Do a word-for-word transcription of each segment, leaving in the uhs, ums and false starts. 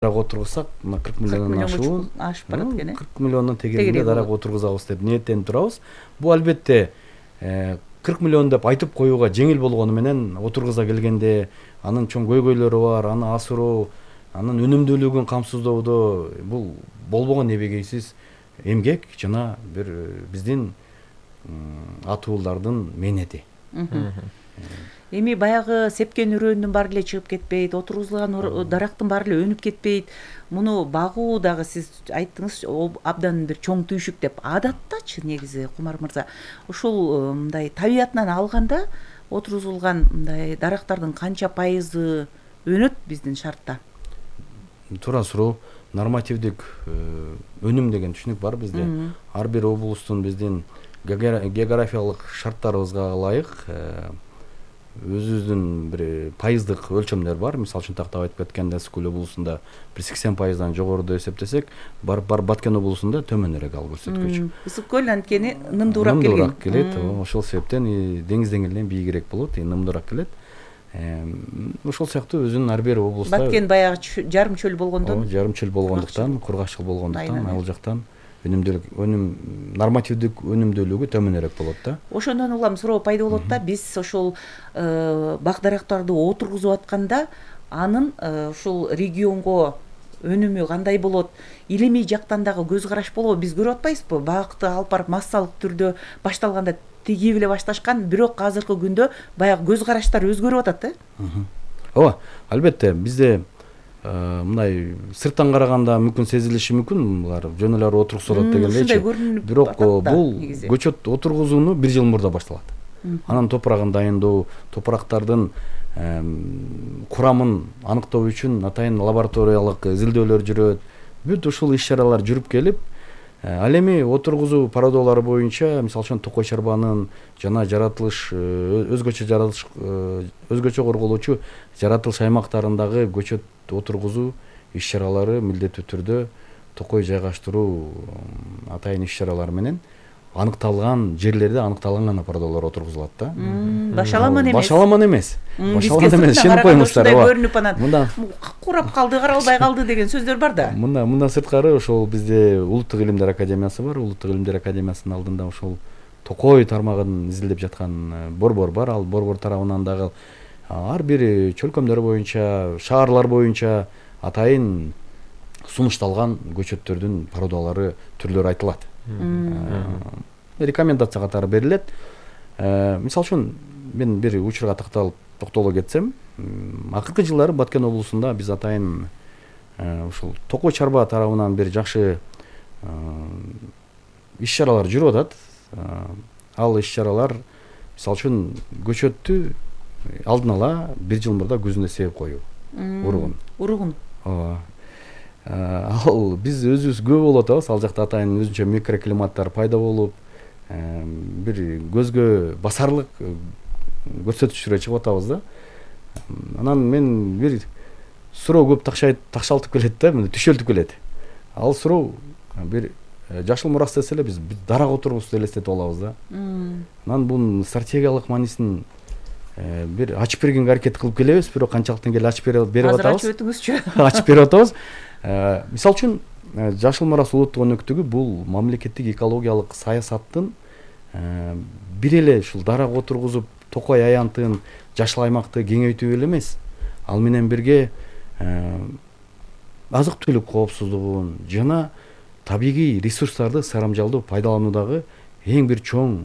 дарак отургузсак, мына кырк миллиондон ашуун ашып барат экен э. кырк миллиондон тегерегинде дарак отургузабыз деп ниеттенип турабыз. Бул албетте кырк миллион деп айтып коюуга жеңил болгону менен отургуза келгенде анын чоң көйгөйлөрү бар, аны асыруу, анын өнүмдүүлүгүн камсыздоодо бул болбогон небегейсиз эмгек жана бир биздин атуулардын мээнети. Эми баягы сепкен үрөндүн баары эле чыгып кетпейт, отургузулган дарактын баары эле өнүп кетпейт. Муну багуу дагы сиз айттыңыз абдан бир чоң түйшүк деп. Адаттачы негизи Кумар мырза, ушул мындай табиятынан алганда отургузулган мындай дарактардын канча пайызы өнөт биздин шартта? Туура суроо. Нормативдик өнүм деген түшүнүк бар бизде. Ар бир облустун биздин географиялык шарттарыбызга ылайык өзүбүздүн бир пайыздык өлчөмдөр бар. Мисалы үчүн тактап айтып кеткенде Ысык Көл облусунда бир сексен пайыздан жогоруда эсептесек, бар бар Баткен облусунда төмөнүрөөк ал көрсөткүч. Ысык Көл анткени нымдуураак келген. Нымдуураак келет. Ошол себептен деңиз деңгээлинен бийигирээк болот, нымдуураак келет. Ошол сыяктуу өзүнүн ар бир облуста Баткен баягы жарым чөл болгондон, жарым чөл болгондуктан, кургакчыл болгондуктан ал жактан өнүмдүүлүк, өнүм нормативдик өнүмдүүлүгү төмөнүрөөк болот да. Ошондон улам суроо пайда болот да, биз ошол бак дарактарды отургузуп атканда анын ушул регионго өнүмү кандай болот? Илимий жактан дагы көз караш болобу? Биз көрүп атпайбызбы? Бакты алып барып массалык түрдө башталганда тигип эле башташкан, бирок азыркы күндө баягы көз караштар өзгөрүп атат да. Ооба, албетте бизде мындай сырттан караганда мүмкүн сезилиши мүмкүн, булар жөн эле отургузулат дегендейчи. Бирок бул көчөт отургузууну бир жыл мурда башталат. Анан топурагын дайындоо, топурактардын курамын аныктоо үчүн атайын лабораториялык изилдөөлөр жүрөт. Бүт ушул иш-чаралар жүрүп келип, ал эми отургузуу породалары боюнча, мисалы үчүн токой чарбанын жана жаратылыш өзгөчө жаратылыш өзгөчө корголуучу жаратылыш аймактарындагы көчөт отургузуу иш-чаралары милдеттүү түрдө токой жайгаштыруу атайын иш-чаралары менен аныкталган жерлерде аныкталган гана породалар отургузулат да. Башаламан эмес. Башаламан эмес. Башаламан эмес, ишенип коюңуздар. Көрүнүп анан курап калды, каралбай калды деген сөздөр бар да. Мында мындан сырткары ошол бизде Улуттук илимдер академиясы бар. Улуттук илимдер академиясынын алдында ошол токой тармагын изилдеп жаткан борбор бар. Ал борбор тарабынан дагы ар бир чөлкөмдөр боюнча, шаарлар боюнча атайын сунушталган көчөттөрдүн породалары, түрлөрү айтылат. Рекомендация катары берилет. Мисалы үчүн мен бир учурга такталып токтоло кетсем, акыркы жылдары Баткен облусунда биз атайын ушул токой чарба тарабынан бир жакшы иш-чаралар жүрүп атат. Ал иш-чаралар мисалы үчүн көчөттү алдын ала бир жыл мурда көзүнө себеп коюу. Уругун. Уругун. Ооба. Ал биз өзүбүз көп болуп атабыз, ал жакта атайын өзүнчө микроклиматтар пайда болуп, бир көзгө басарлык көрсөтүчтөргө чыгып атабыз да. Анан мен бир суроо көп такшалтып келет да, мына түшөлтүп келет. Ал суроо бир жашыл мурас десе эле биз дарак отургузуп элестетип алабыз да. Анан бунун стратегиялык маанисин бир ачып бергенге аракет кылып келебиз, бирок канчалыктан келе ачып берип атабыз. Азыр ачып өтүңүзчү. Ачып берип атабыз. Мисалы үчүн жашыл мурас улуттук өнөктүгү бул мамлекеттик экологиялык саясаттын бир эле ушул дарак отургузуп токой аянтын, жашыл аймакты кеңейтүү эле эмес. Ал менен бирге азык-түлүк коопсуздугун жана табигый ресурстарды сарамжалдуу пайдалануудагы эң бир чоң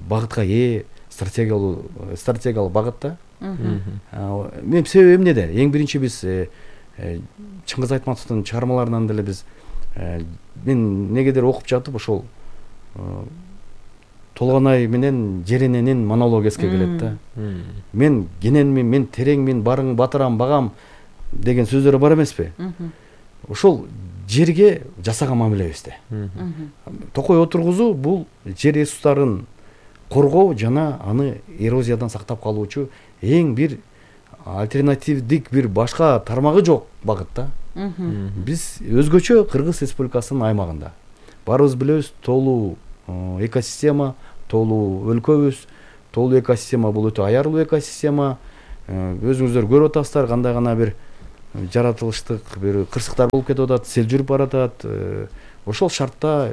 багытка ээ стратегиялык стратегиялык багыт да. Мен себеби эмнеде? Эң биринчи биз Чыңгыз Айтматовдун чыгармаларынан деле биз мен негедир окуп жатып ошол Толгонай менен Жерененин монологу эске келет да. Мен кененмин, мен тереңмин, барың батырам, багам деген сөздөр бар эмеспи? Ошол жерге жасаган мамилебизде. Токой отургузуу бул жер ресурстарын коргоо жана аны эрозиядан сактап калуучу эң бир альтернативдик бир башка тармагы жок багыт да. Биз өзгөчө Кыргыз Республикасынын аймагында барыбыз билебиз, тоолуу экосистема, тоолуу өлкөбүз, тоолуу экосистема бул өтө аярлуу экосистема. Өзүңүздөр көрүп атасыздар кандай гана бир жаратылыштык бир кырсыктар болуп кетип атат, сел жүрүп баратат. Ошол шартта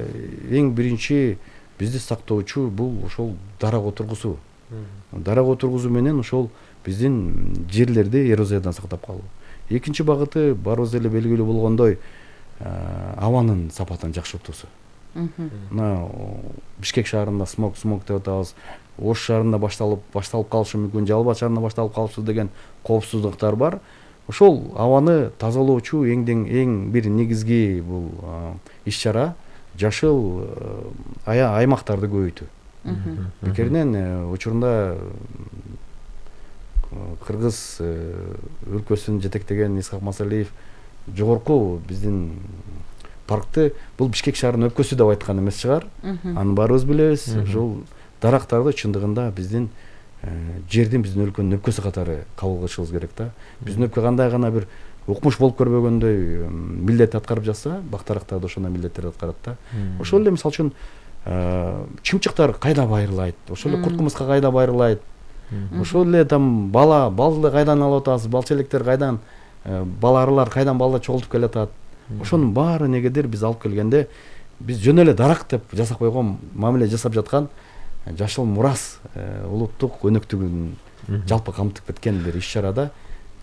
эң биринчи бизди сактоочу бул ошол дарак отургузуу. Дарак отургузуу менен ошол биздин жерлерди эрозиядан сактап калуу. Экинчи багыты барыбыз эле белгилүү болгондой абанын сапатын жакшыртуусу. Мына Бишкек шаарында смог смог деп атабыз. Ош шаарында башталып башталып калышы мүмкүн, Жалал Абад шаарында башталып калышы деген коопсуздуктар бар. Ошол абаны тазалоочу эң эң бир негизги бул иш-чара жашыл аймактарды көбөйтүү. Бекеринен учурунда Кыргыз өлкөсүн жетектеген Исхак Масалиев жогорку биздин паркты бул Бишкек шаарынын өпкөсү деп айткан эмес чыгар. Аны баарыбыз билебиз. Ошол дарактарды чындыгында биздин жердин биздин өлкөнүн өпкөсү катары кабыл кылышыбыз керек да. Биздин өлкө кандай гана бир укмуш болуп көрбөгөндөй милдет аткарып жатса, бактарактар да ошондой милдеттерди аткарат да. Ошол эле мисалы үчүн чымчыктар кайда байрылайт, ошол эле курт-кумурска кайда байрылайт, ошол эле там бала балды кайдан алып атабыз, балчелектер кайдан, баларылар кайдан балда чогултуп келатат. Ошонун баары негедир биз алып келгенде биз жөн эле дарак деп жасап койгон мамиле жасап жаткан жашыл мурас улуттук өнөктүгүн жалпы камтып кеткен бир иш-чарада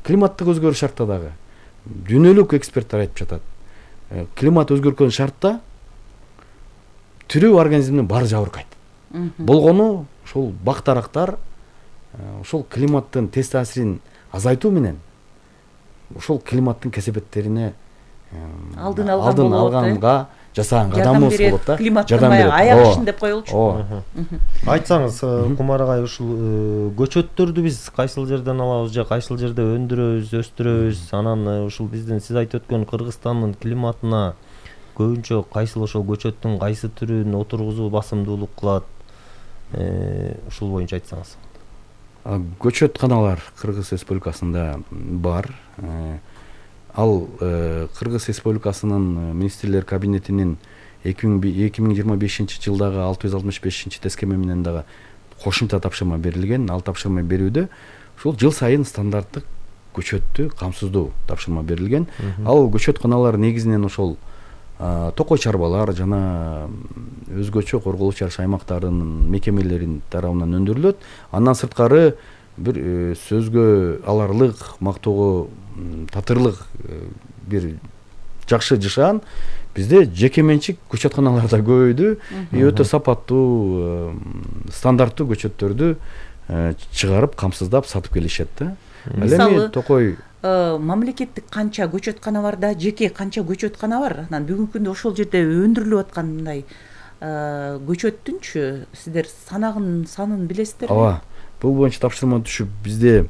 климаттык өзгөрүш шартта дагы дүйнөлүк эксперттер айтып жатат. Климат өзгөргөн шартта тирүү организмдин баары жабыркайт. Болгону ошол бак-дарактар ошол климаттын тез таасирин азайтуу менен ошол климаттын кесепеттерине алдын алганга жасаган кадамыбыз болот да. Климаттын аяк ишин деп коелучу. Айтсаңыз, Кумар агай, ушул көчөттөрдү биз кайсыл жерден алабыз же кайсыл жерде өндүрөбүз, өстүрөбүз? Анан ушул биздин сиз айтып өткөн Кыргызстандын климатына көбүнчө кайсыл ошол көчөттүн кайсы түрүн отургузуу басымдуулук кылат? Ушул боюнча айтсаңыз. Көчөтканалар Кыргыз Республикасында бар. Ал Кыргыз Республикасынын министрлер кабинетинин эки миң жыйырма бешинчи жылдагы алты жүз алтымыш бешинчи тескеме менен дагы кошумча тапшырма берилген. Ал тапшырма берүүдө ушул жыл сайын стандарттык көчөттү камсыздоо тапшырма берилген. Ал көчөтканалар негизинен ошол токой чарбалар жана өзгөчө корголуп чарыш аймактарынын мекемелеринин тарабынан өндүрүлөт. Андан сырткары бир сөзгө аларлык, мактоого татырлык бир жакшы жашаан бизде жеке менчик көчөтканалар да көбөйдү. Өтө сапаттуу, стандарттуу көчөттөрдү чыгарып, камсыздап сатып келишет да. Ал эми токой мамлекеттик канча көчөткана бар да, жеке канча көчөткана бар? Анан бүгүнкү күндө ошол жерде өндүрүлүп аткан мындай көчөттүнчү сиздер санагын санын билесиздерби? Ооба. Бул боюнча тапшырма түшүп бизде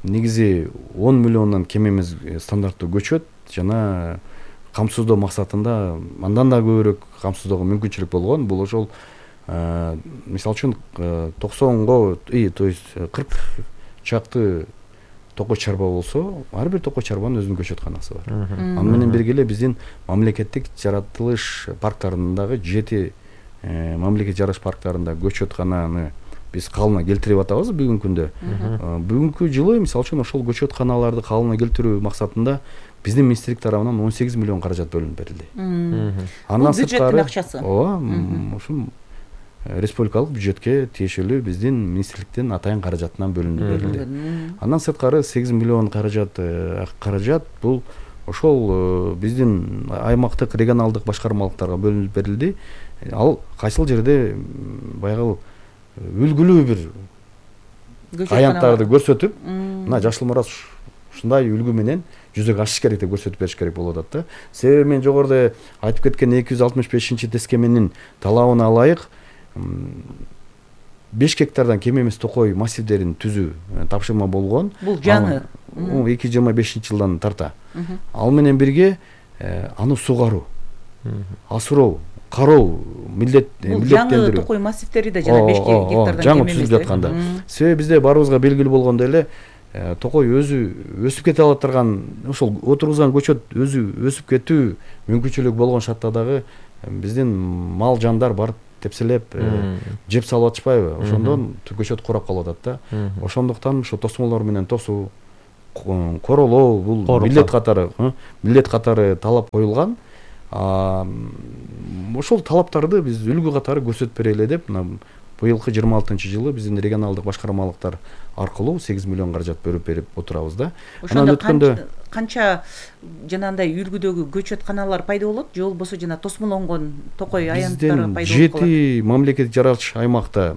негизи он миллиондон кем эмес стандарттуу көчөт жана камсыздоо максатында андан да көбүрөөк камсыздоого мүмкүнчүлүк болгон. Бул ошол мисалы үчүн токсонго, то есть кырк чакты токой чарба болсо, ар бир токой чарбанын өзүнүн көчөтканасы бар. Аны менен бирге эле биздин мамлекеттик жаратылыш парктарындагы жети мамлекеттик жаратылыш парктарында көчөткананы биз калыбына келтирип атабыз бүгүнкү күндө. Бүгүнкү жылы мисалы үчүн ошол көчөтканаларды калыбына келтирүү максатында биздин министрлик тарабынан он сегиз миллион каражат бөлүнүп берилди. Андан сырткары бюджеттин акчасы. Ооба, ушул республикалык бюджетке тиешелүү биздин министрликтин атайын каражатынан бөлүнүп берилди. Андан сырткары сегиз миллион каражат каражат бул ошол биздин аймактык регионалдык башкармалыктарга бөлүнүп берилди. Ал кайсыл жерде баягы үлгүлүү бир аянттарды көрсөтүп, мына жашыл мурас ушундай үлгү менен жүзөгө ашыш керек деп көрсөтүп бериш керек болуп атат да. Себеби мен жогоруда айтып кеткен эки жүз алтымыш бешинчи тескеменин талабына ылайык беш гектардан кем эмес токой массивдерин түзүү тапшырма болгон. Бул жаңы эки жүз жыйырма бешинчи жылдан тарта. Ал менен бирге аны сугаруу, асыроо, кароо милдеттендирүү. Жаңы токой массивдери да жана беш гектардан кем эмес. Жаңы түзүлүп жатканда. Себеби бизде баарыбызга белгилүү болгондой эле токой өзү өсүп кете ала турган, ошол отургузган көчөт өзү өсүп кетүү мүмкүнчүлүгү болгон шартта дагы биздин мал жандар барып тепселеп жеп салып атышпайбы? Ошондон көчөт курап калып атат да. Ошондуктан ошо тосмолор менен тосуу, королоо бул милдет катары милдет катары талап коюлган. Ошол талаптарды биз үлгү катары көрсөтүп берели деп мына быйылкы жыйырма алтынчы жылы биздин регионалдык башкармалыктар аркылуу сегиз миллион каражат бөлүп берип отурабыз да. Ошондо канча жанагындай үлгүдөгү көчөтканалар пайда болот же болбосо жана тосмолонгон токой аянттары пайда болот? Жети мамлекеттик жаратылыш аймакта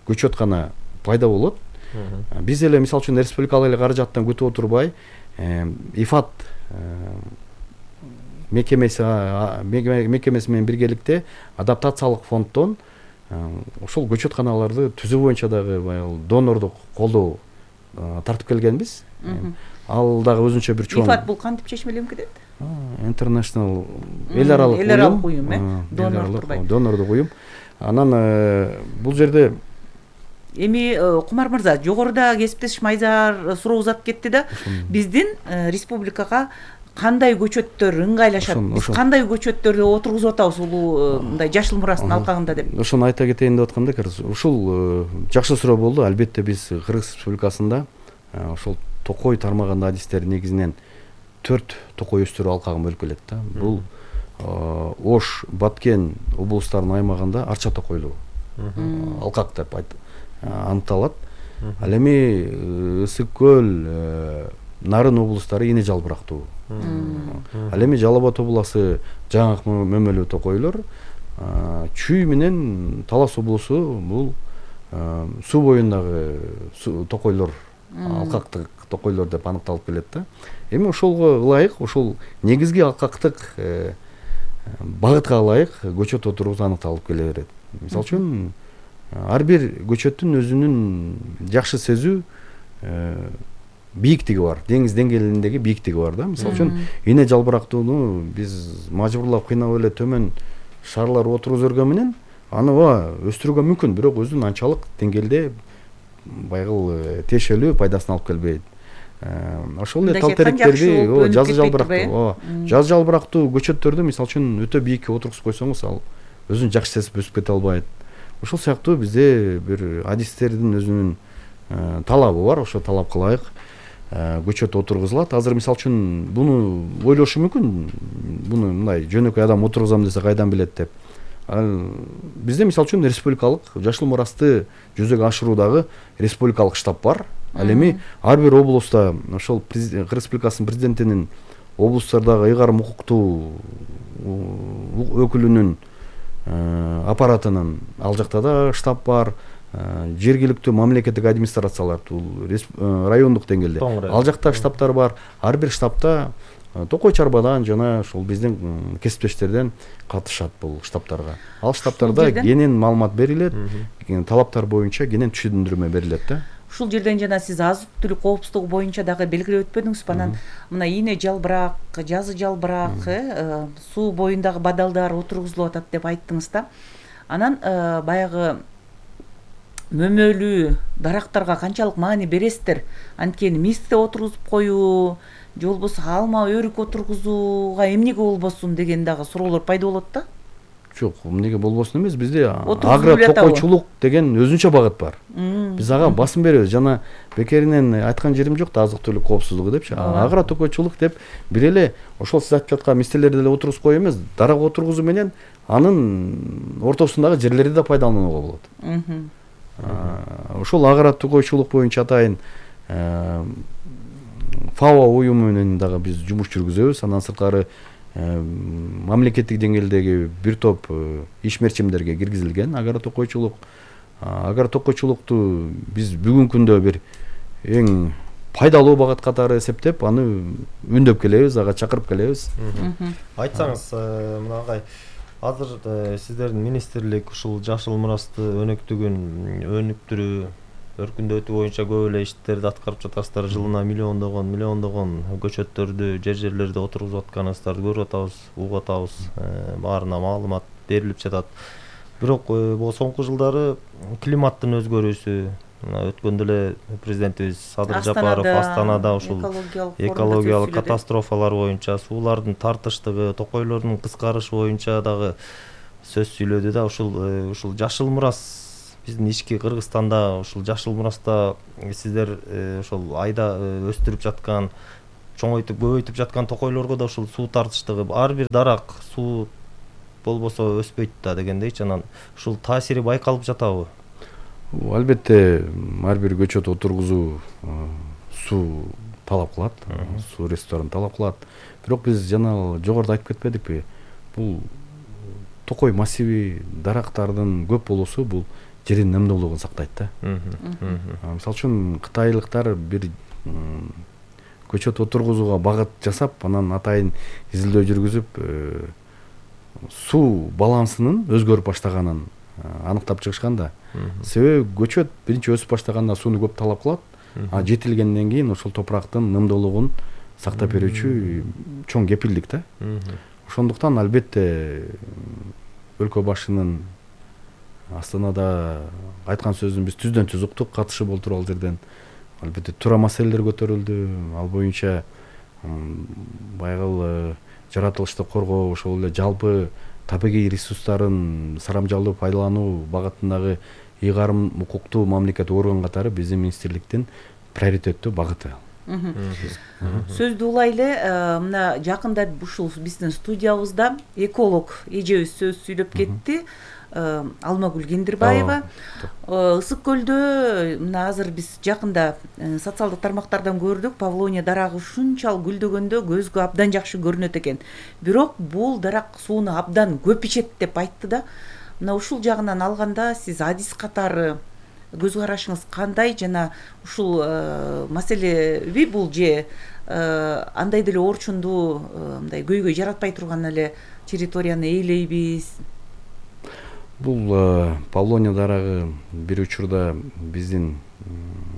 көчөткана пайда болот. Биз эле мисалы үчүн республикалык эле каражаттан күтүп отурбай ИФАД мекемеси мекемеси менен биргеликте адаптациялык фонддон ошол көчөтканаларды түзүү боюнча дагы баягы донордук колдоо тартып келгенбиз. Ал дагы өзүнчө бир чоң. ИФАД бул кантип чечмеленип кетет? International эл аралык эл аралык уюм, э? Донордук донордук уюм. Анан бул жерде эми Кумар мырза, жогоруда кесиптеш Майзаар суроо узатып кетти да, биздин республикага кандай көчөттөр ыңгайлашат, биз кандай көчөттөрдү отургузуп атабыз улуу мындай жашыл мурастын алкагында деп. Ошону айта кетейин деп атканда, ушул жакшы суроо болду. Албетте биз Кыргыз Республикасында ошол токой тармагында адистер негизинен төрт токой өстүрүү алкагын бөлүп келет да. Бул Ош, Баткен облустарынын аймагында арча токойлуу алкак деп аныкталат. Ал эми Ысык көл, Нарын облустары эне жалбырактуу. Ал эми Жалал Абад областы жаңы мөмөлүү токойлор, Чүй менен Талас облусу бул суу боюндагы токойлор, алкактык токойлор деп аныкталып келет да. Эми ошолго ылайык, ошол негизги алкактык багытка ылайык көчөт отургузуу аныкталып келе берет. Мисалы үчүн ар бир көчөттүн өзүнүн жакшы сезүү бийиктиги бар, деңиз деңгээлиндеги бийиктиги бар да. Мисалы үчүн эне жалбырактууну биз мажбурлап кыйнап эле төмөн шарлар отургузуп өргөн менен аны өстүрүүгө мүмкүн, бирок өзүнүн анчалык деңгээлде байгыл тиешелүү пайдасын алып келбейт. Ошол эле тал теректерди жазы жалбырактуу, жаз жалбырактуу көчөттөрдү мисалы үчүн өтө бийикке отургузуп койсоңуз, ал өзүн жакшы сезип өсүп кете албайт. Ошол сыяктуу бизде бир адистердин өзүнүн талабы бар, ошо талапка ылайык көчөт отургузулат. Азыр мисалы үчүн буну ойлошу мүмкүн, буну мындай жөнөкөй адам отургузам десе кайдан билет деп. Бизде мисалы үчүн республикалык жашыл мурасты жүзөгө ашыруудагы республикалык штаб бар. Ал эми ар бир облуста ошол Кыргыз Республикасынын президентинин облустардагы ыйгарым укуктуу өкүлүнүн аппаратынын ал жакта да штаб бар. Жергиликтүү мамлекеттик администрациялар, райондук деңгээлде ал жакта штабтар бар. Ар бир штабта токой чарбадан жана ошол биздин кесиптештерден катышат бул штабтарга. Ал штабтарда кенен маалымат берилет, талаптар боюнча кенен түшүндүрмө берилет да. Ушул жерден жана сиз азык түлүк коопсуздугу боюнча дагы белгилеп өтпөдүңүзбү? Анан мына ийне жалбырак, жазы жалбырак, суу боюндагы бадалдар отургузулуп атат деп айттыңыз да. Анан баягы мөмөлүү дарактарга канчалык маани бересиздер? Анткени мисте отургузуп коюу, же болбосо алма өрүк отургузууга эмнеге болбосун деген дагы суроолор пайда болот да. Жок, эмнеге болбосун эмес, бизде агро токойчулук деген өзүнчө багыт бар. Биз ага басым беребиз. Жана бекеринен айткан жерим жок да, азык түлүк коопсуздугу депчи. Агро токойчулук деп бир эле ошол сиз айтып жаткан мистелерди эле отургузуп коюу эмес, дарак отургузуу менен анын ортосундагы жерлерди да пайдаланууга болот. Ошол агро токойчулук боюнча атайын ФАО уюму менен дагы биз жумуш жүргүзөбүз. Андан сырткары мамлекеттик деңгээлдеги бир топ ишмерчимдерге киргизилген агро токойчулук. Агро токойчулукту биз бүгүнкү күндө бир эң пайдалуу багыт катары эсептеп, аны үндөп келебиз, ага чакырып келебиз. Айтсаңыз, мына агай, азыр сиздердин министрлик ушул жашыл мурасты өнүктүгүн, өнүктүрүү, өркүндөтүү боюнча көп эле иштерди аткарып жатасыздар. Жылына миллиондогон, миллиондогон көчөттөрдү, жер жерлерде отургузуп атканыңыздарды көрүп атабыз, угуп атабыз. Баарына маалымат берилип жатат. Бирок бул соңку жылдары климаттын өзгөрүүсү, өткөндө эле президентибиз Садыр Жапаров Астанада ушул экологиялык катастрофалар боюнча, суулардын тартыштыгы, токойлордун кыскарышы боюнча дагы сөз сүйлөдү да. Ушул ушул жашыл мурас биздин ички Кыргызстанда ушул жашыл мураста сиздер ошол айда өстүрүп жаткан, чоңойтуп көбөйтүп жаткан токойлорго да ушул суу тартыштыгы, ар бир дарак суу болбосо өспөйт да дегендейчи, анан ушул таасири байкалып жатабы? Албетте ар бир көчөт отургузуу суу талап кылат, суу ресурстарын талап кылат. Бирок биз жана жогоруда айтып кетпедикпи? Бул токой массиви, дарактардын көп болуусу бул жердин немдүүлүгүн сактайт да. Мисалы үчүн кытайлыктар бир көчөт отургузууга багыт жасап, анан атайын изилдөө жүргүзүп, суу балансынын өзгөрүп баштаганын аныктап чыгышкан да. Себеби көчөт биринчи өсүп баштаганда сууну көп талап кылат, а жетилгенден кийин ошол топурактын нымдуулугун сактап берүүчү чоң кепилдик да. Ошондуктан албетте өлкө башынын Астанада айткан сөзүн биз түздөн түз уктук, катышы болтуруп ал жерден. Албетте туура маселелер көтөрүлдү. Ал боюнча байгыл жаратылышты коргоо, ошол эле жалпы табигый ресурстарын сарамжалдуу пайдалануу багытындагы ыйгарым укуктуу мамлекет орган катары биздин министрликтин приоритеттүү багыты. Сөздү улай эле мына жакында ушул биздин студиябызда эколог эжебиз сөз сүйлөп кетти. Алмагүл Кендирбаева. Ысык көлдө мына азыр биз жакында социалдык тармактардан көрдүк, Павлония дарагы ушунчалык гүлдөгөндө көзгө абдан жакшы көрүнөт экен. Бирок бул дарак сууну абдан көп ичет деп айтты да. Мына ушул жагынан алганда сиз адис катары көз карашыңыз кандай, жана ушул маселеби бул же андай деле орчундуу мындай көйгөй жаратпай турган эле территорияны ээлейбиз? Бул Павлония дарагы бир учурда биздин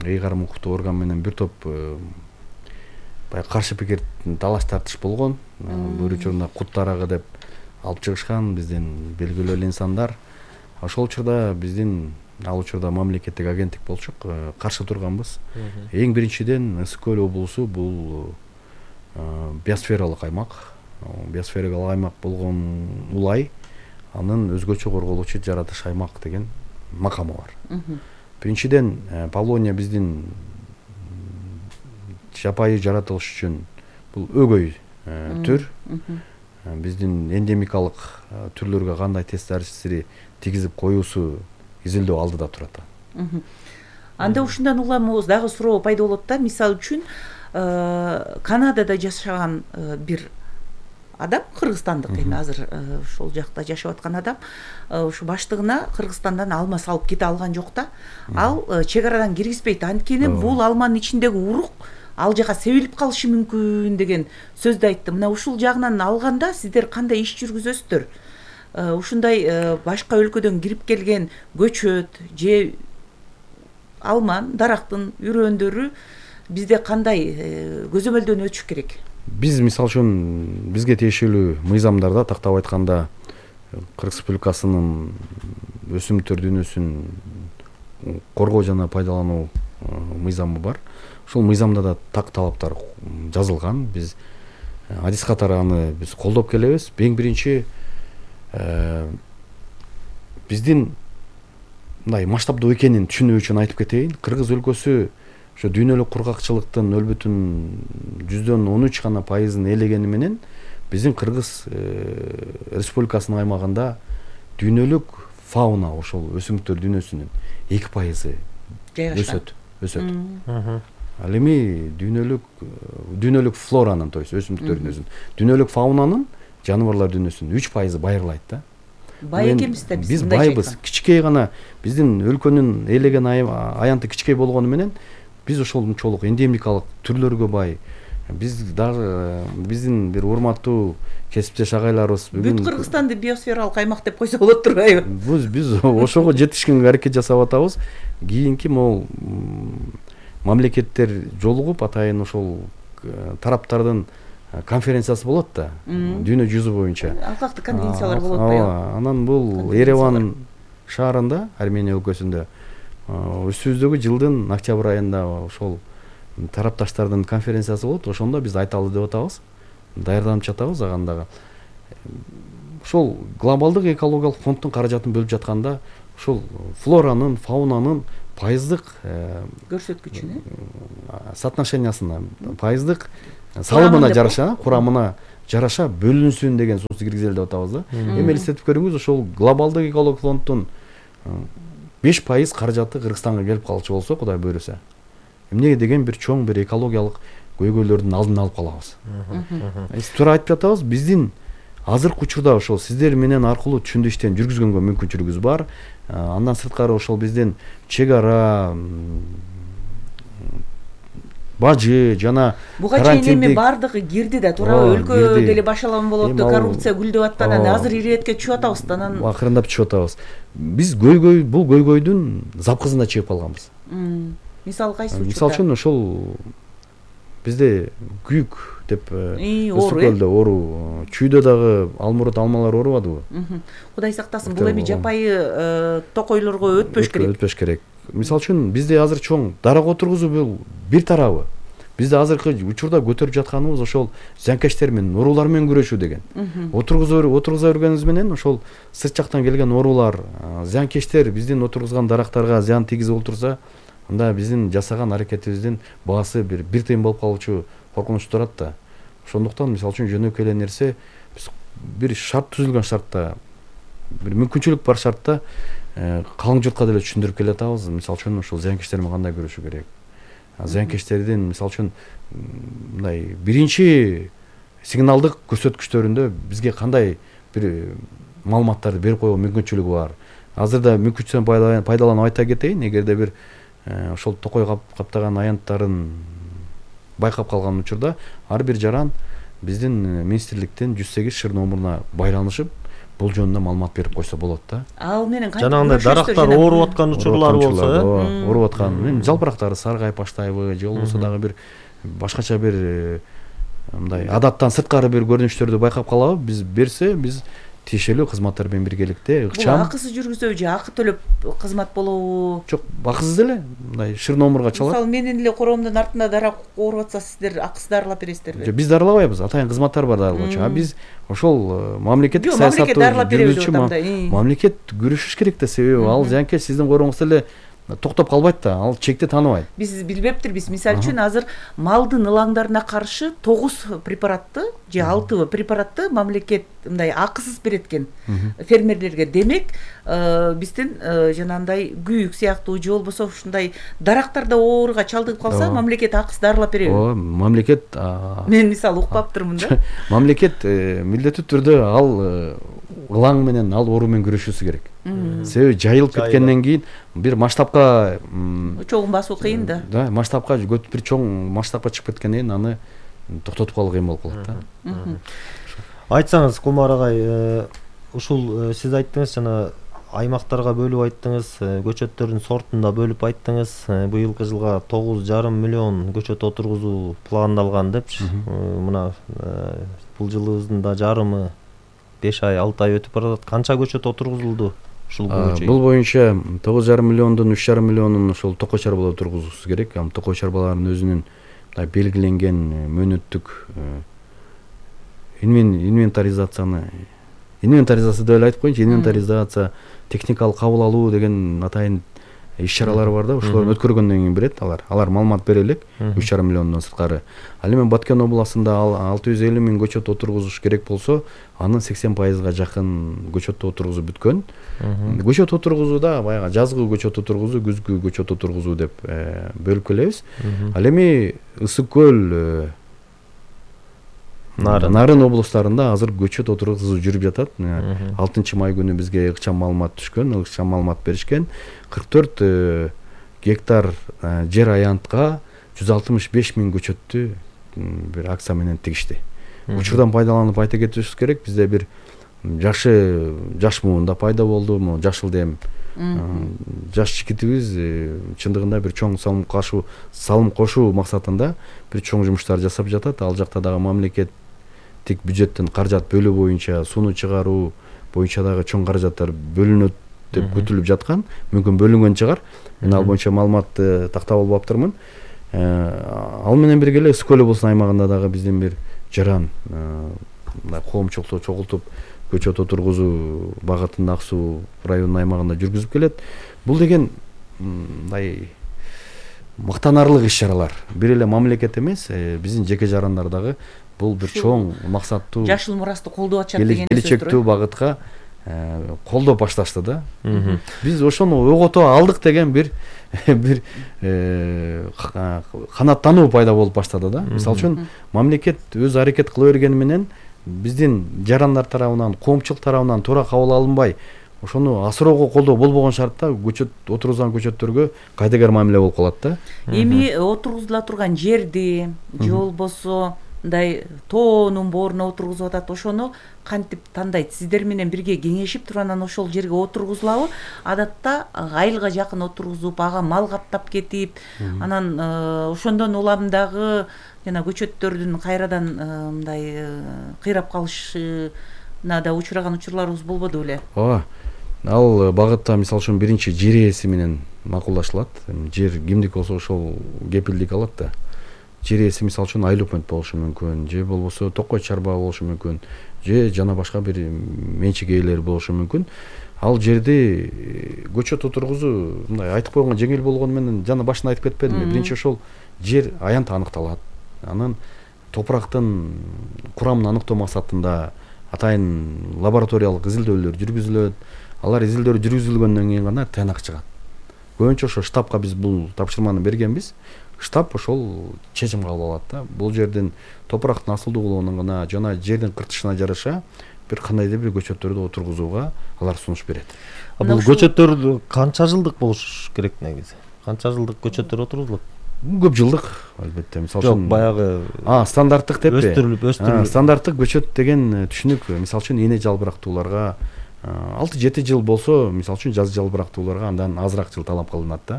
ыйгарым укуктуу орган менен бир топ баягы каршы пикир талаш тартыш болгон. Бир учурда кут дарагы деп алып чыгышкан биздин белгилүү эле инсандар. Ошол учурда биздин ал учурда мамлекеттик агенттик болчук, каршы турганбыз. Эң биринчиден Ысык көл облусу бул биосфералык аймак. Биосфералык аймак болгон улай анын өзгөчө корголуучу жаратыш аймак деген макамы бар. Биринчиден Павлония биздин жапайы жаратылыш үчүн бул өгөй түр. Биздин эндемикалык түрлөргө кандай таасири тийгизип коюусу изилдөө алдыда турат. Анда ушундан уламыбыз дагы суроо пайда болот да. Мисалы үчүн Канадада жашаган бир адам, кыргызстандык эми азыр ошол жакта жашап аткан адам, ушу баштыгына Кыргызстандан алма салып кете алган жок да. Ал чек арадан киргизбейт. Анткени бул алманын ичиндеги урук ал жака себилип калышы мүмкүн деген сөздү айтты. Мына ушул жагынан алганда сиздер кандай иш жүргүзөсүздөр? Ушундай башка өлкөдөн кирип келген көчөт же алман, дарактын үрөндөрү бизде кандай көзөмөлдөн өтүш керек? Биз мисалы үчүн бизге тиешелүү мыйзамдарда тактап айтканда Кыргыз Республикасынын өсүмдүктөр дүйнөсүн коргоо жана пайдалануу мыйзамы бар. Ошол мыйзамда да так талаптар жазылган. Биз адис катары аны биз колдоп келебиз. Эң биринчи биздин мындай масштабдуу экенин түшүнүү үчүн айтып кетейин. Кыргыз өлкөсү ошо дүйнөлүк кургакчылыктын нөлбүтүн жүздөн он үч гана пайызын ээлегени менен биздин Кыргыз Республикасынын аймагында дүйнөлүк фауна, ошол өсүмдүктөр дүйнөсүнүн эки пайызы өсөт. Өсөт. Ал эми дүйнөлүк дүйнөлүк флоранын, то есть өсүмдүктөр дүйнөсүнүн, дүйнөлүк фаунанын, жаныбарлар дүйнөсүнүн үч пайызы байырылайт да. Бай экенбиз да биз. Биз байбыз. Кичкей гана биздин өлкөнүн ээлеген аянты кичкей болгону менен биз ошолчолук эндемикалык түрлөргө бай. Биз дагы биздин бир урматтуу кесиптеш агайларыбыз бүгүн бүт Кыргызстанды биосфералык аймак деп койсо болот турбайбы? Биз биз ошого жетишкенге аракет жасап атабыз. Кийинки могул мамлекеттер жолугуп атайын ошол тараптардын конференциясы болот да. Дүйнө жүзү боюнча. Алкактуу конвенциялар болот да. Анан бул Ереван шаарында, Армения өлкөсүндө өсүүбүздөгү жылдын октябрь айында ошол тарапташтардын конференциясы болот. Ошондо биз айталы деп атабыз. Даярданып жатабыз агандагы. Ошол глобалдык экологиялык фонддун каражатын бөлүп жатканда ушул флоранын, фаунанын пайыздык көрсөткүчүн соотношениясына, пайыздык салымына жараша, курамына жараша бөлүнсүн деген сунуш киргизели деп атабыз да. Эми элестетип көрүңүз, ошол глобалдык экологик фонддун беш пайыз каражаты Кыргызстанга келип калчу болсо, Кудай буйруса, эмне деген бир чоң бир экологиялык көйгөйлөрдүн алдын алып калабыз. Биз туура айтып атабыз, биздин азыркы учурда ошол сиздер менен аркылуу түшүндү иштен жүргүзгөнгө мүмкүнчүлүгүбүз бар. Андан сырткары ошол биздин чек ара, бажы жана буга чейин эми бардыгы кирди да, туурабы? Өлкө деле башалаган болот, коррупция гүлдөп аткандан азыр ирээткө түшүп атабыз да, анан акырындап түшүп атабыз. Биз көйгөй, бул көйгөйдүн запкызына чыгып калганбыз. Мисалы кайсы учурда? Мисалы үчүн ошол бизде күйүк деп, ысык көлдө оору, чүйдө дагы алмурут алмалар оорубадыбы? Кудай сактасын, бул эми жапайы токойлорго өтпөш керек. Өтпөш керек. Мисалы үчүн бизде азыр чоң дарак отургузуу бул бир тарабы. Бизде азыркы учурда көтөрүп жатканыбыз ошол зыянкечтер менен, оорулар менен күрөшүү деген. Отургуза отургуза бергенибиз менен ошол сырт жактан келген оорулар, зыянкечтер биздин отургузган дарактарга зыян тийгизип отурса, анда биздин жасаган аракетибиздин баасы бир бир тыйын болуп калуучу коркунуч турат да. Ошондуктан мисалы үчүн жөнөкөй эле нерсе, биз бир шарт түзүлгөн шартта, бир мүмкүнчүлүк бар шартта калың журтка деле түшүндүрүп келатабыз. Мисалы үчүн ошол зыянкечтер менен кандай күрөшүү керек. Зыянкечтердин мисалы үчүн мындай биринчи сигналдык көрсөткүчтөрүндө бизге кандай бир маалыматтарды берип койгон мүмкүнчүлүгү бар. Азырда мүмкүнчүлүктөн пайдаланып айта кетейин, эгерде бир ошол токой каптаган аянттарын байкап калган учурда ар бир жаран биздин министрликтен жүз сегиз шыр номуруна байланышып, бул жөнүндө маалымат берип койсо болот да. Ал менен кантип жанагындай дарактар ооруп аткан учурлар болсо, ооруп аткан, жалпырактары саргайып баштайбы, же болбосо дагы бир башкача бир мындай адаттан сырткары бир көрүнүштөрдү байкап калабы, биз берсе, биз тиешелүү кызматтар менен биргеликте ыкчам. Бул акысыз жүргүзөбү же акы төлөп кызмат болобу? Жок, акысыз эле, мындай шыр номурга чалат. Мисалы, менин эле коромдун артында дарак ооруп атса, сиздер акысыз дарылап бересиздерби? Жок, биз дарылабайбыз, атайын кызматтар бар дарылоочу. А биз ошол мамлекеттик саясатты жүргүзүүчү мамлекет күрөшүш керек да, себеби ал зыянкеч сиздин короңузда эле токтоп калбайт да, ал чекти тааныбайт. Биз билбептирбиз, мисалы үчүн азыр малдын ылаңдарына каршы тогуз препаратты же алты препаратты мамлекет мындай акысыз берет экен фермерлерге. Демек, биздин жанагындай күйүк сыяктуу же болбосо ушундай дарактарда ооруга чалдыгып калса, мамлекет акысыз дарылап береби? Ооба, мамлекет мен мисалы укпаптырмын да. Мамлекет милдеттүү түрдө ал ылаң менен, ал оору менен күрөшүүсү керек. Себеби жайылып кеткенден кийин бир масштабка чоң басуу кыйын да. Да, масштабка бир чоң масштабка чыгып кеткенден кийин аны токтотуп калуу кыйын болуп калат да. Айтсаңыз, Кумар агай, ушул сиз айттыңыз, жана аймактарга бөлүп айттыңыз, көчөттөрдүн сортун да бөлүп айттыңыз. Быйылкы жылга тогуз жарым миллион көчөт отургузуу пландалган депчи. Мына бул жылыбыздын да жарымы беш ай, алты ай өтүп баратат. Канча көчөт отургузулду ушул боюнча? Бул боюнча тогуз жарым миллиондун үч жарым миллионун ошол токой чарбалар отургузуусу керек. Ам токой чарбалардын өзүнүн белгиленген мөөнөттүк инвентаризацияны инвентаризация деп эле айтып коеюнчу, инвентаризация, техникалык кабыл алуу деген атайын иш-чаралар бар да, ошолорду өткөргөндөн кийин берет алар. Алар маалымат бере элек үч жарым миллиондон сырткары. Ал эми Баткен областында алты жүз элүү миң көчөт отургузуш керек болсо, анын сексен пайызга жакын көчөттү отургузуп бүткөн. Көчөт отургузууда баягы жазгы көчөт отургузуу, күзгү көчөт отургузуу деп бөлүп келебиз. Ал эми Ысык көл, Нарын облустарында азыр көчөт отургузуу жүрүп жатат. алтынчы май күнү бизге ыкчам маалымат түшкөн, ыкчам маалымат беришкен. кырк төрт гектар жер аянтка жүз алтымыш беш миң көчөттү бир акция менен тигишти. Учурдан пайдаланып айта кетишибиз керек, бизде бир жакшы жаш муун да пайда болду, могу жашыл дем. Жаш жигитибиз чындыгында бир чоң салым кошуу, салым кошуу максатында бир чоң жумуштар жасап жатат. Ал жакта дагы мамлекет тик бюджеттен каражат бөлүү боюнча, сууну чыгаруу боюнча дагы чоң каражаттар бөлүнөт деп күтүлүп жаткан. Мүмкүн бөлүнгөн чыгар. Мен ал боюнча маалыматты тактап албаптырмын. Ал менен бирге эле Ысык көл облусунун аймагында дагы биздин бир жаран мындай коомчулукту чогултуп көчөт отургузуу багытын ак суу районунун аймагында жүргүзүп келет. Бул деген мындай мактанарлык иш чаралар. Бир эле мамлекет эмес, биздин жеке жарандар дагы бул бир чоң максаттуу жашыл мурасты колдоп атышат деген сөз. Келечектүү багытка колдоп башташты да. Биз ошону огото алдык деген бир бир канаттануу пайда болуп баштады да. Мисалы үчүн мамлекет өз аракет кыла бергени менен биздин жарандар тарабынан, коомчулук тарабынан туура кабыл алынбай, ошону асыроого колдоо болбогон шартта көчөт отургузган көчөттөргө кайдыгер мамиле болуп калат да. Эми отургузула турган жерди же болбосо мындай тоонун бооруна отургузуп атат, ошону кантип тандайт? Сиздер менен бирге кеңешип туруп анан ошол жерге отургузулабы? Адатта айылга жакын отургузуп, ага мал каптап кетип, анан ошондон улам дагы жана көчөттөрдүн кайрадан мындай кыйрап калышына да учураган учурларыбыз болбоду беле? Ооба. Ал багытта мисалы үчүн биринчи жер ээси менен макулдашылат. Жер кимдик болсо ошол кепилдик алат да. Жер ээси мисалы үчүн айыл өкмөт болушу мүмкүн, же болбосо токой чарба болушу мүмкүн, же жана башка бир менчик ээлери болушу мүмкүн. Ал жерди көчөт отургузуу мындай айтып койгонго жеңил болгону менен жана башында айтып кетпедимби? Биринчи ошол жер аянт аныкталат. Анан топурактын курамын аныктоо максатында атайын лабораториялык изилдөөлөр жүргүзүлөт. Алар изилдөөлөр жүргүзүлгөндөн кийин гана тыянак чыгат. Көбүнчө ошо штабка биз бул тапшырманы бергенбиз. Штаб ошол чечим кабыл алат да. Бул жердин топурактын асылдуулугуна жана жердин кыртышына жараша бир кандайдыр бир көчөттөрдү отургузууга алар сунуш берет. А бул көчөттөр канча жылдык болуш керек негизи? Канча жылдык көчөттөр отургузулат? Көп жылдык албетте. Мисалы үчүн баягы а стандарттык деппи? Өстүрүлүп, өстүрүлүп. Стандарттык көчөт деген түшүнүк мисалы үчүн эне жалбырактууларга алты жети жыл болсо, мисалы үчүн жаз жалбырактууларга андан азыраак жыл талап кылынат да.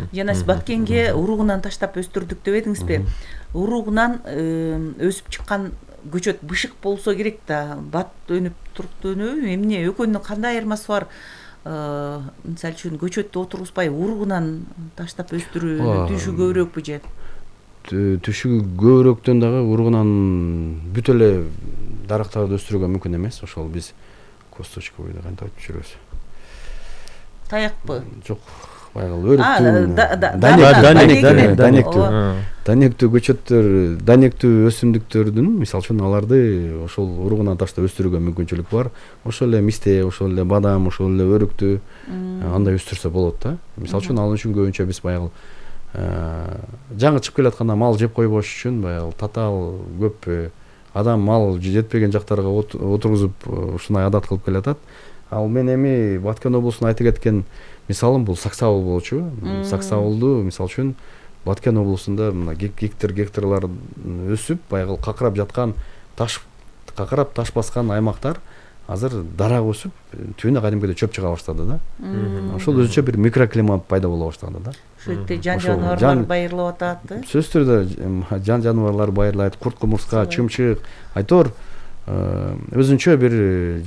Жана сиз Баткенге уругунан таштап өстүрдүк деп едиңизби? Уругунан өсүп чыккан көчөт бышык болсо керек да. Бат өнүп турукту өнөбү? Эмне экөөнүн кандай айырмасы бар? Мисалы үчүн көчөттү отургузбай уругунан таштап өстүрүү түшү көбүрөөкпү же? Түшү көбүрөөктөн дагы уругунан бүт эле дарактарды өстүрүүгө мүмкүн эмес. Ошол биз косточковый да кантип айтып жүрөбүз. Таякпы? Жок, баягы өрүктүү, данектүү, данектүү көчөттөр, данектүү өсүмдүктөрдүн, мисалы үчүн аларды ошол уругунан таштап өстүрүүгө мүмкүнчүлүк бар. Ошол эле мисте, ошол эле бадам, ошол эле өрүктүү андай өстүрсө болот да. Мисалы үчүн ал үчүн көбүнчө биз баягы жаңы чыгып келатканда мал жеп койбош үчүн баягы татаал көп адам мал жетпеген жактарга отургузуп ушундай адат кылып келатат. Ал мен эми Баткен облусуна айта кеткен мисалым бул Саксабыл болчу. Саксабылды мисалы үчүн Баткен облусунда мына гектар гектарлар өсүп, баягы какырап жаткан таш какырап таш баскан аймактар азыр дарак өсүп, түбүнө кадимкидей чөп чыга баштады да. Ошол өзүнчө бир микроклимат пайда боло баштады да. Ошол жерде жан жаныбарлар байырлап атат. Сөзсүз түрдө жан жаныбарлар байырлайт, курт кумурска, чымчык, айтор өзүнчө бир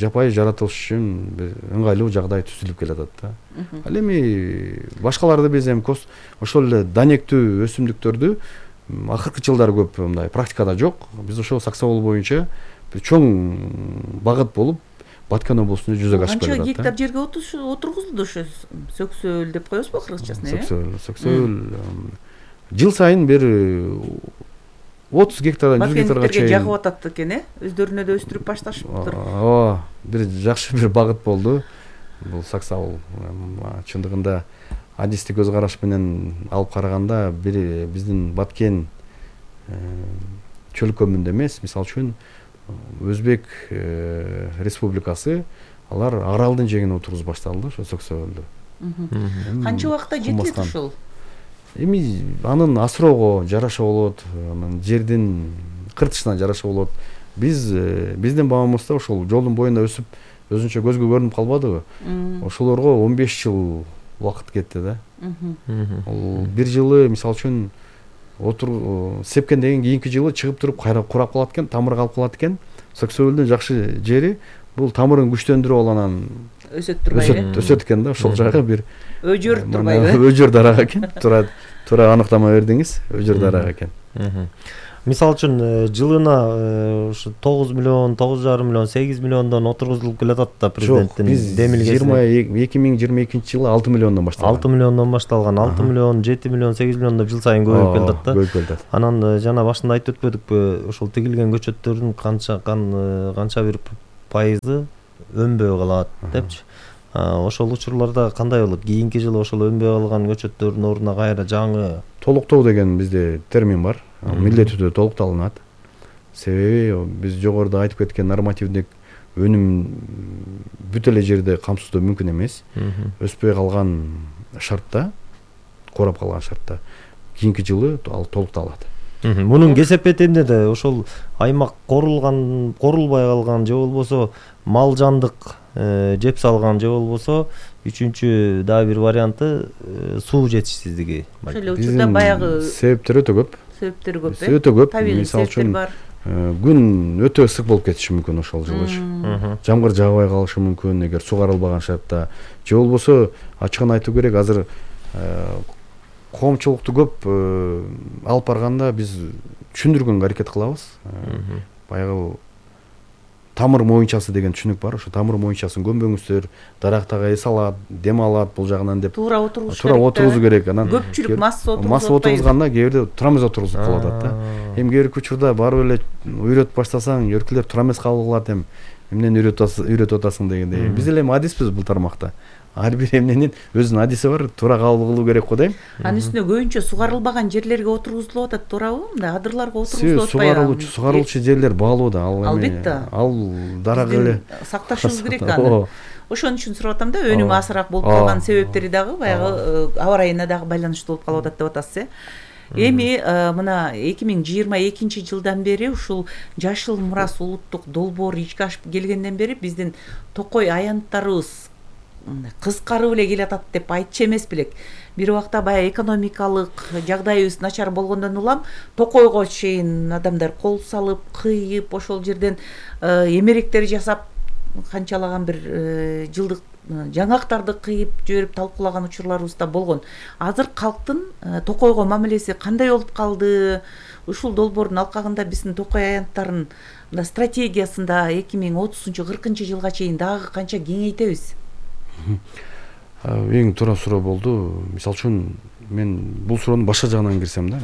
жапайы жаратылыш үчүн бир ыңгайлуу жагдай түзүлүп келатат да. Ал эми башкаларды биз эми ошол эле данектүү өсүмдүктөрдү акыркы жылдары көп мындай практикада жок. Биз ошол Саксабыл боюнча бир чоң багыт болуп Баткен облусунда жүзөгө ашып келатат. Канча гектар жерге отургузулду ошо сөксөөл деп коебузбу кыргызчасына? Сөксөөл, сөксөөл жыл сайын бир отуз гектардан жүз гектарга чейин жагып атат экен, э? Өздөрүнө да өстүрүп башташыптыр. Ооба, бир жакшы бир багыт болду. Бул Саксабыл чындыгында адистик көз караш менен алып караганда бир биздин Баткен чөлкөмүндө эмес, мисалы үчүн Өзбек республикасы алар аралдын жегине отургузуп башталды ошо сөксөөлдү. Канча убакытта жетет ушул? Эми анын асыроого жараша болот, анын жердин кыртышына жараша болот. Биз биздин бабамызда ошол жолдун боюнда өсүп, өзүнчө көзгө көрүнүп калбадыбы? Ошолорго он беш жыл убакыт кетти да. Ал бир жылы мисалы үчүн отур сепкенден кийинки жылы чыгып туруп кайра курап калат экен, тамыр калып калат экен. Сөксөөлдүн жакшы жери бул тамырын күчтөндүрүп аланан өсөт турбайбы? Өсөт экен да, ошол жагы бир өжөр турбайбы? Өжөр дарак экен. Туура туура аныктама бердиңиз, өжөр дарак экен. Мисалы үчүн жылына ушу тогуз миллион, тогуз жарым миллион, сегиз миллиондон отургузулуп келатат да президенттин демилгеси. Жок, биз эки миң жыйырма экинчи жылы алты миллиондон башталган. алты миллиондон башталган. алты миллион, жети миллион, сегиз миллион деп жыл сайын көбөйүп келатат да. Көбөйүп келатат. Анан жана башында айтып өтпөдүкпү, ошол тигилген көчөттөрдүн канча канча бир пайызы өнбөй калат депчи. Ошол учурларда кандай болот? Кийинки жылы ошол өнбөй калган көчөттөрдүн ордуна кайра жаңы толуктоо деген бизде термин бар. Милдеттүү түрдө толукталынат. Себеби биз жогоруда айтып кеткен нормативдик өнүм бүт эле жерде камсыздоо мүмкүн эмес. Өспөй калган шартта, курап калган шартта кийинки жылы ал толукталат. Мунун кесепети эмне да? Ошол аймак корулган, корулбай калган же болбосо мал жандык жеп салган же болбосо үчүнчү дагы бир варианты суу жетишсиздиги. Ошол эле учурда баягы себептер өтө көп. Себептер көп э? Өтө көп. Табигый Мисалы себептер үчүн бар. күн өтө ысык болуп кетиши мүмкүн ошол жылычы. Жамгыр жаагбай калышы мүмкүн эгер сугарылбаган шартта. Же болбосо ачыгын айтуу керек, азыр коомчулукту көп алып барганда биз түшүндүргөнгө аракет кылабыз. Баягы тамыр моюнчасы деген түшүнүк бар. Ошо тамыр моюнчасын көмбөңүздөр, дарактага эс алат, дем алат бул жагынан деп. Туура отургуш керек. Туура отургузуу керек. Анан көпчүлүк масса отургузуп масса отургузганда кээ бирде тура эмес отургузуп калып атат да. Эми кээ бирки учурда барып эле үйрөтүп баштасаң, өркүлөр тура эмес кабыл кылат, эми эмнени үйрөтүп атасың дегендей. Биз эле адиспиз бул тармакта. Ар бир эмненин өзүнүн адиси бар, туура кабыл кылуу керек го дейм. Анын үстүнө көбүнчө сугарылбаган жерлерге отургузулуп атат, туурабы? Мындай адырларга отургузулуп атпайбы? Сугарылуучу, сугарылуучу жерлер баалуу да. Ал эми Албетте. ал дарак эле сакташыбыз керек аны. Ошон үчүн сурап атам да, өнүмү азыраак болуп калган себептери дагы баягы аба ырайына дагы байланыштуу болуп калып атат деп атасыз э. Эми мына эки миң жыйырма экинчи жылдан бери ушул Жашыл мурас улуттук долбоор ишке ашып келгенден бери биздин токой аянттарыбыз кыскарып эле келатат деп айтчу эмес белек. Бир убакта баягы экономикалык жагдайыбыз начар болгондон улам токойго чейин адамдар кол салып, кыйып, ошол жерден эмеректер жасап, канчалаган бир жылдык жаңактарды кыйып жиберип талкуулаган учурларыбыз да болгон. Азыр калктын токойго мамилеси кандай болуп калды? Ушул долбоордун алкагында биздин токой аянттарын мына стратегиясында эки миң отузунчу кыркынчы жылга чейин дагы канча кеңейтебиз? Эң туура суроо болду. Мисалы үчүн мен бул суроонун башка жагынан кирсем да,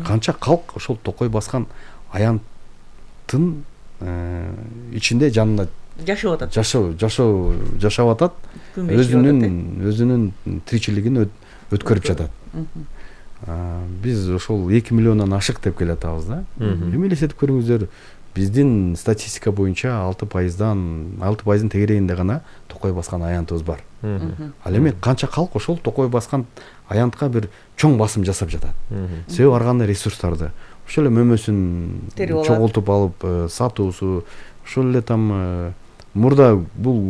канча калк ошол токой баскан аянттын ичинде жанында жашап атат. Жашоо, жашоо, жашап атат. Өзүнүн өзүнүн тиричилигин өткөрүп жатат. Биз ошол эки миллиондон ашык деп келатабыз да. Эми элестетип көрүңүздөр, биздин статистика боюнча алты пайыздан алты пайыздын тегерегинде гана токой баскан аянтыбыз бар. Ал эми канча калк ошол токой баскан аянтка бир чоң басым жасап жатат. Себеби ар кандай ресурстарды ошол эле мөмөсүн чогултуп алып сатуусу, ошол эле там мурда бул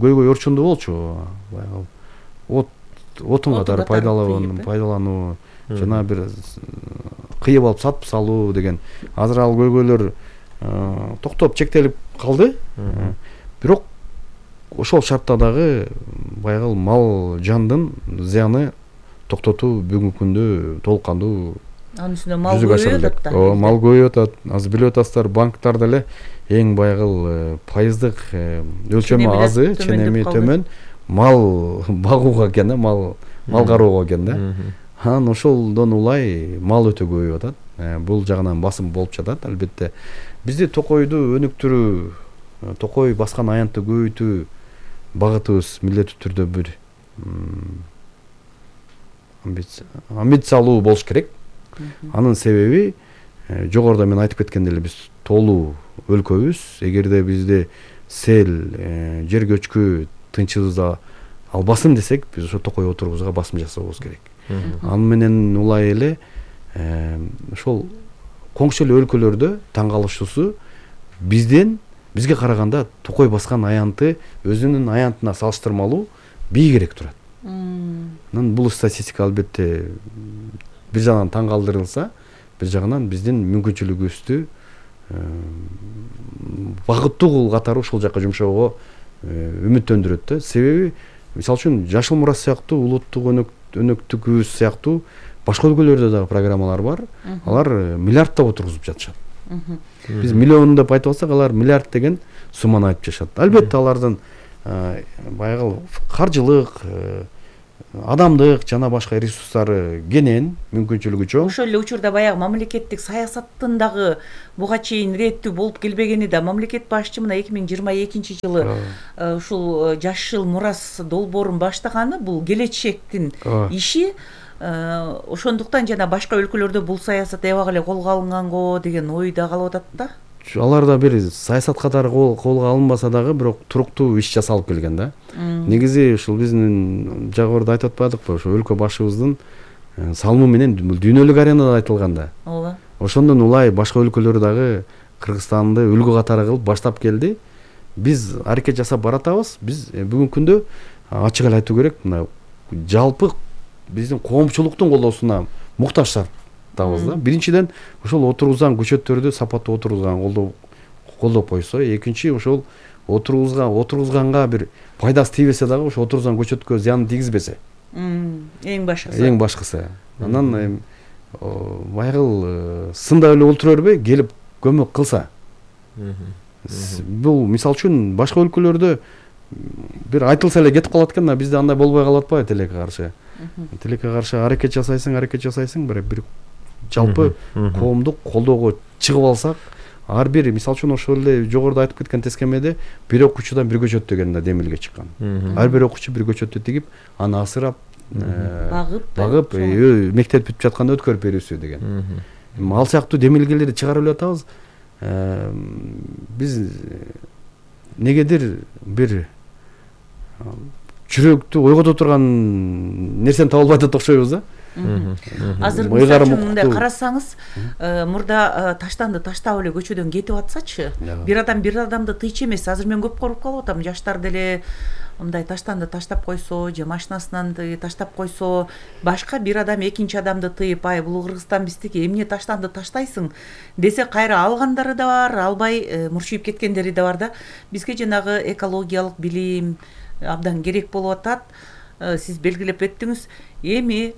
көйгөй орчундуу болчу. Баягы от отун катары пайдалануу, пайдалануу, жана бир кыйып алып сатып салуу деген. Азыр ал көйгөйлөр токтоп чектелип калды. Бирок ошол шартта дагы баягы мал жандын зыяны токтотуу бүгүнкү күндө толук кандуу. Анын үстүнө мал көбөйүп атат да. Ооба, мал көбөйүп атат. Азыр билип атасыздар, банктарда эле эң баягы пайыздык өлчөмү азы, ченеми төмөн мал багууга экен да, мал мал кароого экен да. Анан ошолдон улай мал өтө көбөйүп атат. Бул жагынан басым болуп жатат албетте. Бизде токойду өнүктүрүү, токой баскан аянтты көбөйтүү багытыбыз милдеттүү түрдө бир амбициялуу болуш керек. Анын себеби жогоруда мен айтып кеткендей эле биз тоолуу өлкөбүз. Эгерде бизде сел, жер көчкү тынчыбызда албасын десек, биз ошо токой отурубузга басым жасабыбыз керек. Аны менен улай эле ошол коңшу эле өлкөлөрдө таң калышуусу бизден бизге караганда токой баскан аянты өзүнүн аянтына салыштырмалуу бийигирээк турат. Анан бул статистика албетте бир жагынан таң калтырылса, бир жагынан биздин мүмкүнчүлүгүбүздү багыттуу катары ушул жака жумшоого үмүттөндүрөт да. Себеби мисалы үчүн Жашыл мурас сыяктуу улуттук өнөктүгүбүз сыяктуу башка өлкөлөрдө дагы программалар бар. Алар миллиарддап отургузуп жатышат. Биз миллион деп айтып атсак, алар миллиард деген сумманы айтып жатышат. Албетте алардын баягы каржылык, адамдык жана башка ресурстары кенен, мүмкүнчүлүгү чоң. Ошол эле учурда баягы мамлекеттик саясаттын дагы буга чейин иреттүү болуп келбегени да, мамлекет башчы мына эки миң жыйырма экинчи жылы ушул жашыл мурас долбоорун баштаганы бул келечектин иши. Ошондуктан жана башка өлкөлөрдө бул саясат эбак эле колго алынганго деген ой да калып атат да. Алар да бир саясат катары колго алынбаса дагы, бирок туруктуу иш жасалып келген да. Негизи ушул биздин жагыбарда айтып атпадыкпы, ошо өлкө башыбыздын салымы менен дүйнөлүк аренада айтылган да. Ооба. Ошондон улай башка өлкөлөр дагы Кыргызстанды үлгү катары кылып баштап келди. Биз аракет жасап баратабыз. Биз бүгүнкү күндө ачык эле айтуу керек, мына жалпы биздин коомчулуктун колдоосуна муктаждар табыз да. Биринчиден ошол отургузган көчөттөрдү сапаттуу отургузган колдоо колдоп койсо, экинчи ошол отургузган отургузганга бир пайдасы тийбесе дагы ошо отургузган көчөткө зыян тийгизбесе. Эң башкысы. Эң башкысы. Анан баягы сында эле олтура бербей, келип көмөк кылса. Бул мисалы үчүн башка өлкөлөрдө бир айтылса эле кетип калат экен да, бизде андай болбой калат атпайбы? Тилекке каршы. Тилекке каршы аракет жасайсың, аракет жасайсың, бир бир жалпы коомдук колдоого чыгып алсак, ар бир мисалы үчүн ошол эле жогоруда айтып кеткен тескемеде бир окуучудан бир көчөт деген да демилге чыккан. Ар бир окуучу бир көчөттү тигип, аны асырап, багып, багып, мектеп бүтүп жатканда өткөрүп берүүсү деген. Ал сыяктуу демилгелерди чыгарып эле атабыз. Биз негедир бир жүрөктү ойгото турган нерсени таба албай атат окшойбуз да. Азыр мындай карасаңыз, мурда таштанды таштап эле көчөдөн кетип атсачы, бир адам бир адамды тыйчу эмес. Азыр мен көп көрүп калып атам, жаштар деле мындай таштанды таштап койсо, же машинасынан таштап койсо, башка бир адам экинчи адамды тыйып, ай бул Кыргызстан биздики, эмне таштанды таштайсың десе, кайра алгандары да бар, албай мурчуйуп кеткендери да бар да. Бизге жанагы экологиялык билим абдан керек болуп атат. Сиз белгилеп өттүңүз. Эми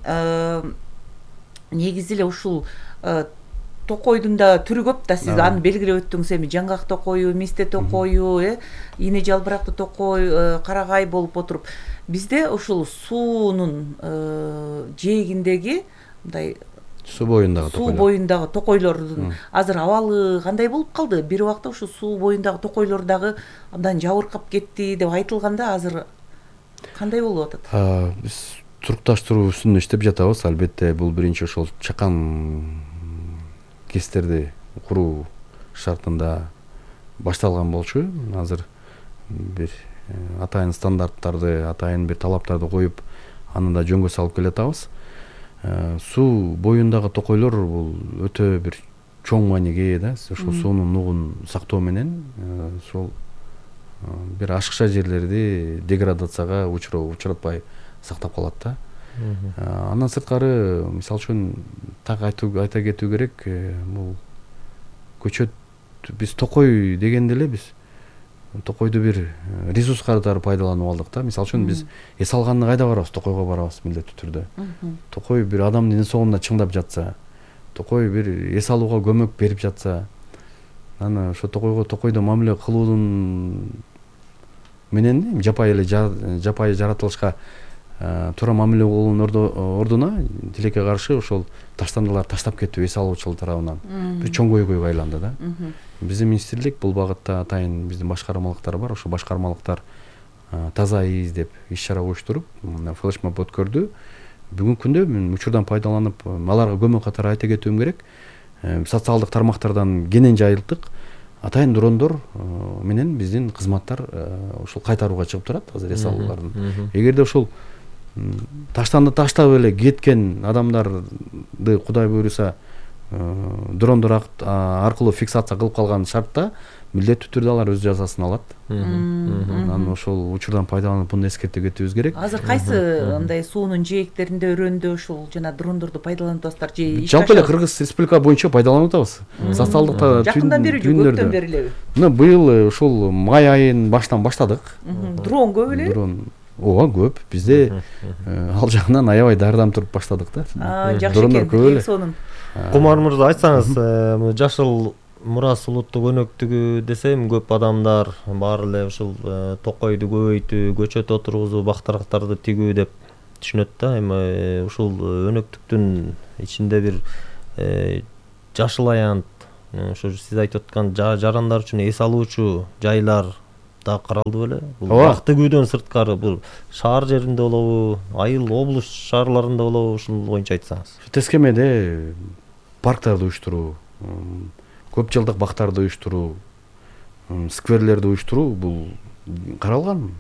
негизи эле ушул токойдун да түрү көп да, сиз аны белгилеп өттүңүз. Эми жаңгак токою, мисте токою, э ине жалбырактуу токой, карагай болуп отуруп, бизде ушул суунун жээгиндеги мындай суу боюндагы суу боюндагы токойлордун азыр абалы кандай болуп калды? Бир убакта ушул суу боюндагы токойлор дагы абдан жабыркап кетти деп айтылганда, азыр кандай болуп атат? Биз турукташтыруу үстүндө иштеп жатабыз. Албетте бул биринчи ошол чакан кестерди куруу шартында башталган болчу. Азыр бир атайын стандарттарды, атайын бир талаптарды коюп, аны да жөнгө салып келатабыз. Суу боюндагы токойлор бул өтө бир чоң мааниге ээ да. Ошол суунун нугун сактоо менен ошол бир ашыкча жерлерди деградацияга учуратпай сактап калат да. Андан сырткары, мисалы үчүн так айта кетүү керек, бул көчөт, биз токой дегенде эле биз токойду бир ресурс катары пайдаланып алдык да. Мисалы үчүн биз эс алганда кайда барабыз? Токойго барабыз милдеттүү түрдө. Токой бир адамдын ден соолугуна чыңдап жатса, токой бир эс алууга көмөк берип жатса, аны ошо токойго токойдо мамиле кылуудун менен жапайы эле жапайы жаратылышка туура мамиле кылуунун ордуна тилекке каршы ошол таштандылар таштап кетүү эс алуучулар тарабынан бир чоң көйгөйгө айланды да. Биздин министрлик бул багытта атайын биздин башкармалыктар бар. Ошо башкармалыктар таза из деп иш чара уюштуруп, флешмоб өткөрдү. Бүгүнкү күндө мен учурдан пайдаланып, аларга көмөк катары айта кетүүм керек. Социалдык тармактардан кенен жайылттык. Атайын дрондор менен биздин кызматтар ушул кайтарууга чыгып турат азыр эс алуулардын. Эгерде ошол таштанды таштап эле кеткен адамдарды Кудай буйруса дрондор аркылуу фиксация кылып калган шартта милдеттүү түрдө алар өз жазасын алат. Анан ошол учурдан пайдаланып буну эскертип кетүүбүз керек. Азыр кайсы мындай суунун жээктеринде, өрөөндө ушул жана дрондорду пайдаланып атасыздар же? Жалпы эле Кыргыз Республика боюнча пайдаланып атабыз. Социалдык жакындан бери же көптөн бери элеби? Мына быйыл ушул май айынын башынан баштадык. Дрон көп эле? Дрон ооба көп бизде ал жагынан аябай даярданып туруп баштадык да. Жакшы экен. Эң сонун. Кумар мырза, айтсаңыз, жашыл мурас улуттук өнөктүгү десем, көп адамдар баары эле ушул токойду көбөйтүү, көчөт отургузуу, бактарактарды тигүү деп түшүнөт да. Эми ушул өнөктүктүн ичинде бир жашыл аянт, ошо сиз айтып аткан жарандар үчүн эс алуучу жайлар да каралды беле? Бул бак тигүүдөн сырткары бул шаар жеринде болобу, айыл облус шаарларында болобу, ушул боюнча айтсаңыз. Тескемеде парктарды уюштуруу, көп жылдык бактарды уюштуруу, скверлерди уюштуруу бул каралган.